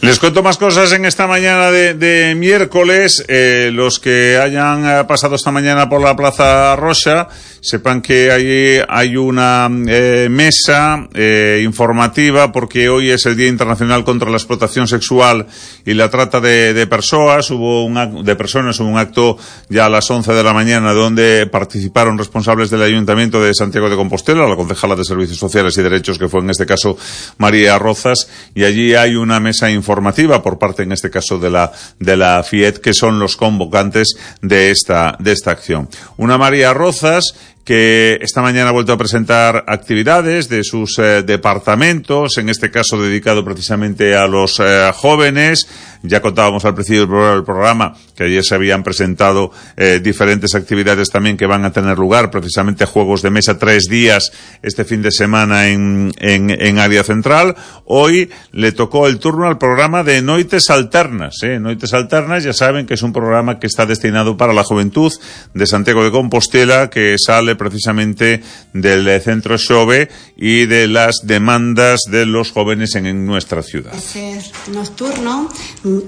Les cuento más cosas en esta mañana de miércoles. Los que hayan pasado esta mañana por la Plaza Roxa, sepan que allí hay una mesa informativa, porque hoy es el Día Internacional contra la Explotación Sexual y la Trata de Personas. Hubo un acto ya a las 11 de la mañana donde participaron responsables del Ayuntamiento de Santiago de Compostela, la concejala de Servicios Sociales y Derechos, que fue en este caso María Rozas, y allí hay una mesa informativa por parte, en este caso, de la FIET, que son los convocantes de esta acción. Una María Rozas que esta mañana ha vuelto a presentar actividades de sus departamentos, en este caso dedicado precisamente a los jóvenes. Ya contábamos al principio del programa que ayer se habían presentado diferentes actividades también que van a tener lugar, precisamente juegos de mesa 3 días este fin de semana en Área Central. Hoy le tocó el turno al programa de Noites Alternas. Noites Alternas, ya saben que es un programa que está destinado para la juventud de Santiago de Compostela, que sale precisamente del Centro Xove y de las demandas de los jóvenes en nuestra ciudad. Ese nocturno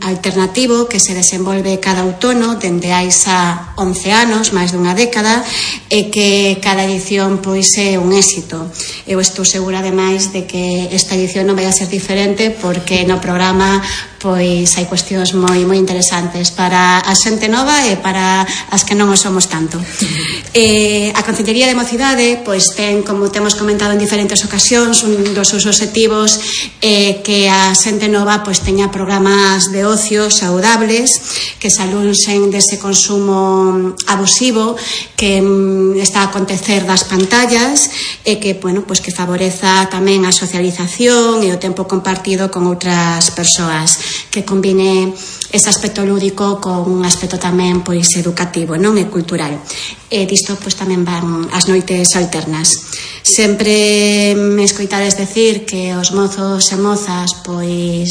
alternativo que se desenvolve cada outono dende hai xa 11 anos, máis dunha década, e que cada edición pois é un éxito. Eu estou segura ademais de que esta edición non vai a ser diferente, porque no programa pois hai cuestións moi interesantes para a xente nova e para as que non o somos tanto. A Concellería de Mocidade pois ten, como temos comentado en diferentes ocasións, un dos seus obxectivos que a xente nova pois teña programas de ocio saudables, que se alunxen dese consumo abusivo que está a acontecer das pantallas, e que, pois que favoreza tamén a socialización e o tempo compartido con outras persoas, que combine ese aspecto lúdico con un aspecto tamén pois educativo, non, e cultural. E disto pois tamén van as noites alternas. Sempre me escoitades decir que os mozos e mozas pois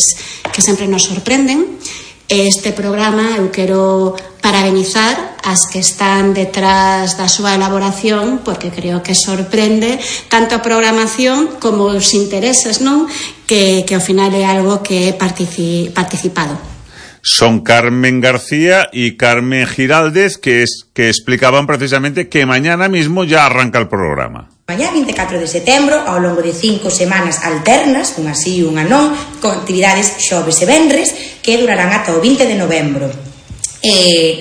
que sempre nos sorprenden. Este programa eu quero parabenizar as que están detrás da súa elaboración, porque creo que sorprende tanto a programación como os intereses, non? Que ao final é algo que é participado. Son Carmen García y Carmen Giraldez, que explicaban precisamente que mañana mismo ya arranca el programa. Mañá, 24 de setembro, ao longo de 5 semanas alternas, unha sí e unha non, con actividades xoves e venres, que durarán ata o 20 de novembro.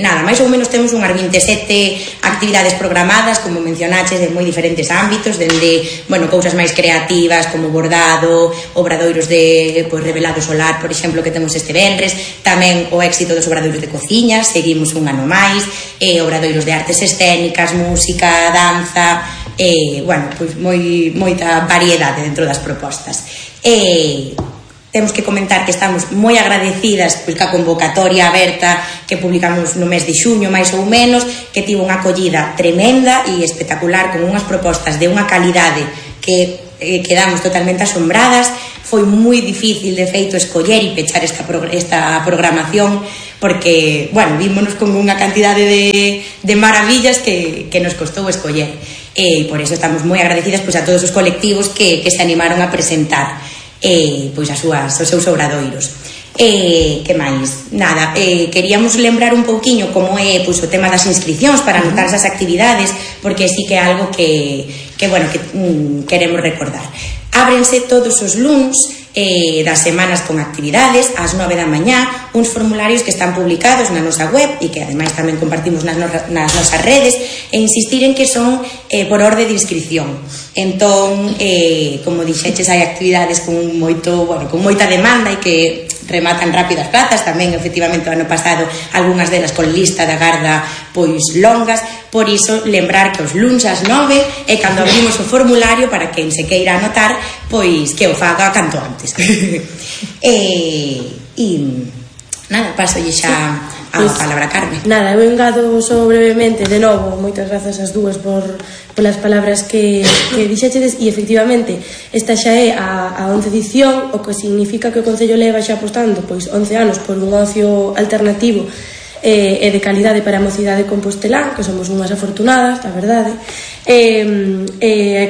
Nada, máis ou menos temos unhas 27 actividades programadas, como mencionaches, de moi diferentes ámbitos, dende, cousas máis creativas como bordado, obradoiros de revelado solar, por exemplo, que temos este venres, tamén o éxito dos obradoiros de cociña, seguimos un ano máis, obradoiros de artes escénicas, música, danza, moita variedade dentro das propostas. Temos que comentar que estamos moi agradecidas ca convocatoria aberta que publicamos no mes de xuño, máis ou menos, que tivo unha acollida tremenda e espectacular, con unhas propostas de unha calidade que quedamos totalmente asombradas. Foi moi difícil, de feito, escoller e pechar esta programación, porque, vímonos con unha cantidade de maravillas que nos costou escoller. E por eso estamos moi agradecidas a todos os colectivos que se animaron a presentar os seus obradoiros. Que máis? Nada, queríamos lembrar un pouquiño como é o tema das inscricións para anotar esas actividades, porque sí que é algo que queremos recordar. Ábrense todos os luns das semanas con actividades ás 9 da mañá, uns formularios que están publicados na nosa web e que ademais tamén compartimos nas nosas redes, e insistir en que son por orde de inscripción. Entón, como dixeches, hai actividades con moita demanda e que rematan rápidas plazas. Tamén, efectivamente, o ano pasado algunhas delas con lista de agarda longas. Por iso, lembrar que os luns ás 9 é cando abrimos o formulario para quen se queira anotar, que o faga canto antes. Nada, pasolle xa a palabra a Carmen. Nada, eu engado só brevemente, de novo, moitas grazas ás dúas polas palabras que dixechedes, e efectivamente esta xa é a 11ª edición, o que significa que o Concello leva xa apostando 11 anos por un ocio alternativo e de calidade para a mocidade compostelán, que somos unhas afortunadas, a verdade,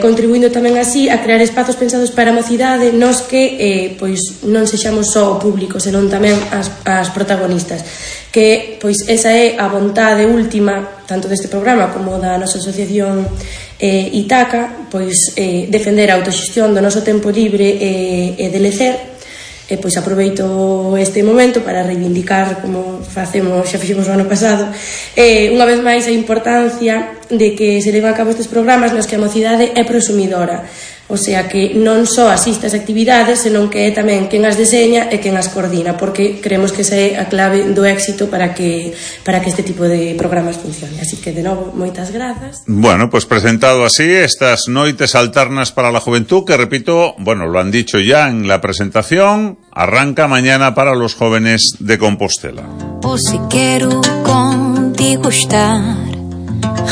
contribuindo tamén así a crear espazos pensados para a mocidade nos que pois non sexamos só o público, senón tamén as protagonistas, que pois esa é a vontade última tanto deste programa como da nosa asociación Itaca, pois defender a autoxestión do noso tempo libre e de lecer. E pois aproveito este momento para reivindicar, como xa fixemos o ano pasado, unha vez máis a importancia de que se leven a cabo estes programas nos que a mocidade é prosumidora, o sea que non só asiste ás actividades, senón que é tamén quen as deseña e quen as coordina, porque creemos que esa é a clave do éxito para que este tipo de programas funcione. Así que, de novo, moitas grazas. Bueno, pues presentado así estas noites alternas para la juventud, que repito, bueno, lo han dicho ya en la presentación, arranca mañana para los jóvenes de Compostela. O si quiero contigo estar,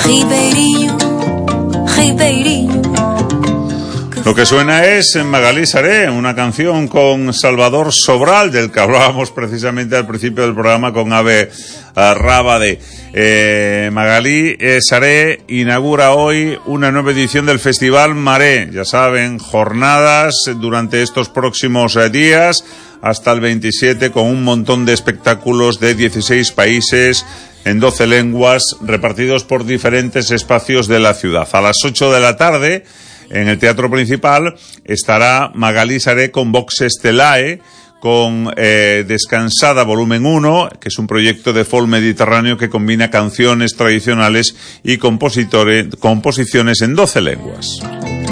Ribeirinho, Ribeirinho. Lo que suena es Magalí Saré, una canción con Salvador Sobral, del que hablábamos precisamente al principio del programa con Ave Rábade. Magalí Saré inaugura hoy una nueva edición del Festival Maré. Ya saben, jornadas durante estos próximos días hasta el 27, con un montón de espectáculos de 16 países en 12 lenguas repartidos por diferentes espacios de la ciudad. A las 8 de la tarde, en el Teatro Principal, estará Magalí Saré con Vox Estelae, con Descansada Volumen 1, que es un proyecto de folk mediterráneo que combina canciones tradicionales y composiciones en 12 lenguas.